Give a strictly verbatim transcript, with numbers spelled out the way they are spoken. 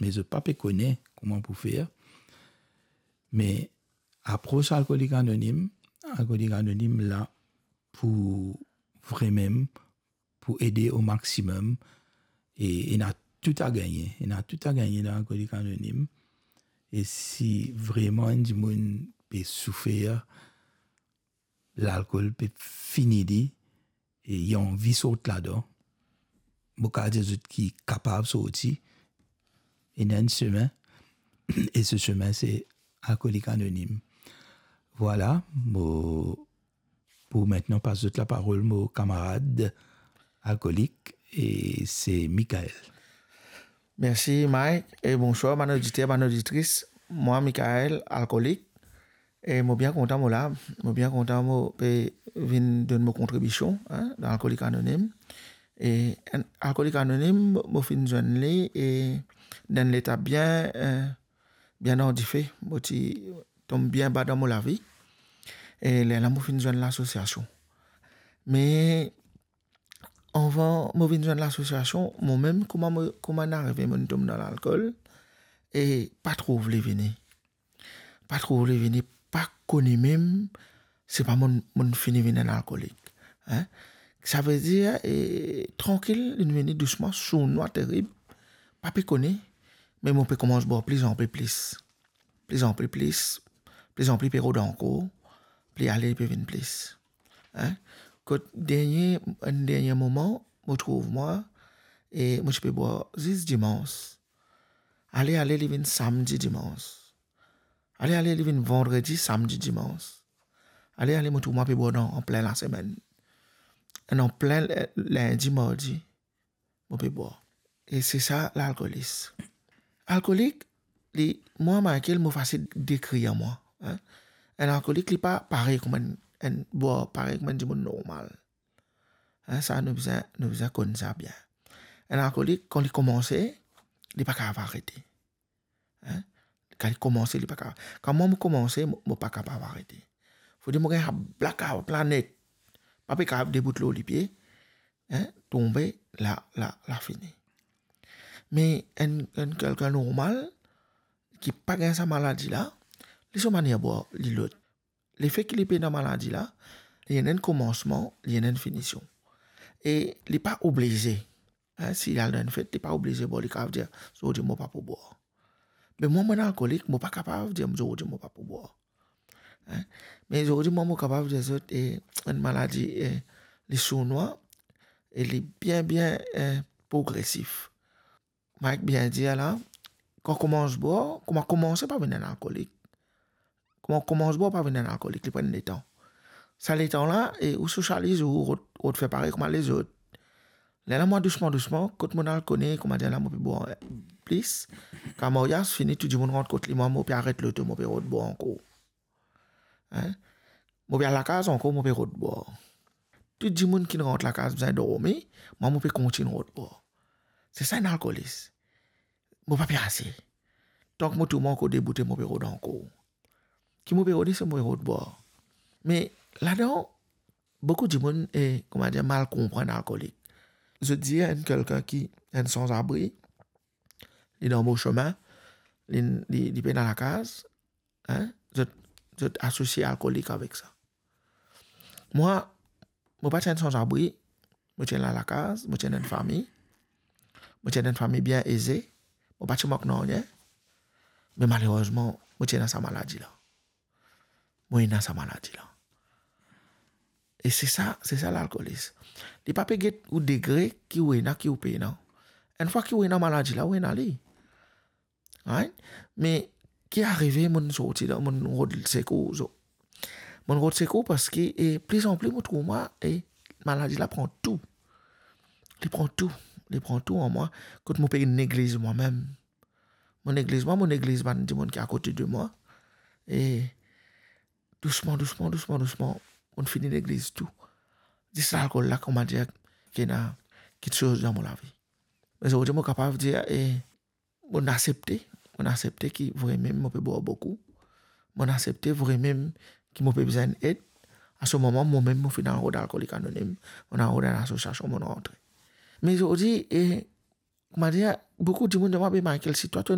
me zot pa pe kone kouma pou fer. Me apros Alkolik Anonim, Alkolik Anonim la pou vremem, pou ede o maximum, e ena tou a gagne, ena tou a gagne dan Alkolik Anonim. E si vreman enn dimoun pe soufer, lalkol pe fini li, e li anvi sort ladan, mo kapav dir zot ki kapav sorti, ena enn semin, e se semin se Alkolik Anonim. Vwala, mo pou mintnan pas zot laparol mo kamarad alkolik, e se Michael. Mersi Mike, e bonswar bann oditer, bann oditris. Mwa Michael, alkolik, e mo bien kontan mo la, mo bien kontan mo pe vinn donn mo kontribision, hein, dan Alkolik Anonim. E enn Alkolik Anonim, mo finn zwenn li, e dan enn leta bien, eh, bien dan dife, mo ti tom bien ba dan mo lavi. E lerla mo finn zwenn lasosiasion. Me avan mo vinn zwenn lasosiasion, momem kouma mo, kouma inn arive, mo'nn tom dan lalkol, e pa trouv li vini. Pa trouv li vini, pa kone mem, se pa mo'nn, mo'nn fini vinn enn alkolik. Hein? Savedir, e, trankil, linn vini dousman, sournwa terib, pa pe kone, me mo pe koumans bwar plizanpli plis. Plizanpli plis, plizanpli pe rod ankor, pli ale pe vinn plis. Hein? Kot dernie, enn dernie moman, mo trouv mwa, e mo ti pe bwar zis dimans. Ale, ale, li vinn samdi, dimans. Ale, ale, li vinn vandredi, samdi, dimans. Ale, ale, mo trouv mwa pe bwar dan, an plin lasemenn. An plin, eh, lindi, mardi, mo pe bwar. E se sa, lalkolis. Alkolik, li, mwa, Michael, mo fasil dekrir mwa, hein. Enn alkolik, li pa parey kouma enn, enn bwar, parey kouma enn dimoun normal. Hein, sa, nou bizin, nou bizin konn sa bien. Enn alkolik, kan li koumanse, li pa kapav arete. Hein? Kan li koumanse, li pa kapav. Kan mwa, mo koumanse, mo, mo pa kapav arete. Fode mo gagn sa blackout la net. Pa pe kapav debout lor lipie. Hein? Tonbe, la, la, la fini. Me enn, enn kelkenn normal, ki pa gagn sa maladi la, li so manier bwar, li lot. Lefet ki li pena maladi la, li ena enn koumansman, li ena enn finision. E li pa oblize. Hein, si li al dan enn fet, li pa oblize bwar, li kapav dir, zordi mo pa pou bwar. Me mwa, mo enn alkolik, mo pa kapav dir, zordi mo pa pou bwar. Hein? Me zordi, mwa, mo kapav dir zot, e, enn maladi, e, li sournwa, e li bien, bien, e, progresif. Mike bien dir la, kan koumans bwar, kouma koumanse pa vinn enn alkolik. Kouma koumans bwar pa vinn enn alkolik, li pran letan. Sa letan la, e ou sosializ, ou rod, rod fer parey kouma lezot. Lerla mwa dousman, dousman, kot mo'nn al kone, kouma dir la, mo pe bwar plis. Kan maryaz fini, tou dimoun rant kot li, mwa, mo pe aret loto, mo pe rod bwar ankor. Hein? Mo pe al lakaz ankor, mo pe rod bwar. Tou dimoun ki rant lakaz bizin dormi, mwa, mo pe kontign rod bwar. Se sa enn alkolis. Mo pa pe ase. Tank mo trouv mwa ankor deboute, mo pe rod ankor. Ki mo pe rode, se mo pe rod bwar. Me ladan, boukou dimoun, e, kouma dir, mal konprann alkolik. Zot dir enn kelkenn ki enn sanzabri, li dan mo semin, li, li, li pena lakaz, hein? Zot, zot asosie alkolik avek sa. Mwa, mo pa ti enn sanzabri, mo ti ena lakaz, mo ti ena enn fami, mo ti ena enn fami bien eze, mo pa ti mank nanye, me malerezman, mo ti ena sa maladi la. Mo ena sa maladi la. E se sa, se sa lalkolis. Li pa pe get ou degre ki ou ena, ki ou pena. Enn fwa ki ou ena maladi la, ou ena li. Right? Me ki arive, mo'nn sorti dan, mo'nn rod sekour, so. Mo'nn rod sekour parski, e, plizanpli mo trouv mwa, e, maladi la pran tou. Li pran tou, li pran tou an mwa, kot mo pe negliz mwa mem. Mo negliz mwa, mo negliz bann dimoun ki akote de mwa. E dousman, dousman, dousman, dousman, mo'nn fini negliz tou. Zis lalkol la, kouma dir, ki ena kiksoz dan mo lavi. Me zordi mo kapav dir, e, mo'nn asepte, mo'nn asepte ki vremem mo pe bwar boukou. Mo'nn asepte vremem ki mo pe bizin ed. A se moman, momem mo finn al rod Alkolik Anonim, mo'nn al rod enn asosiasion, mo'nn rantre. Me zordi, e, Manier boukou dimoun dir mwa, "Be Michael, si twa to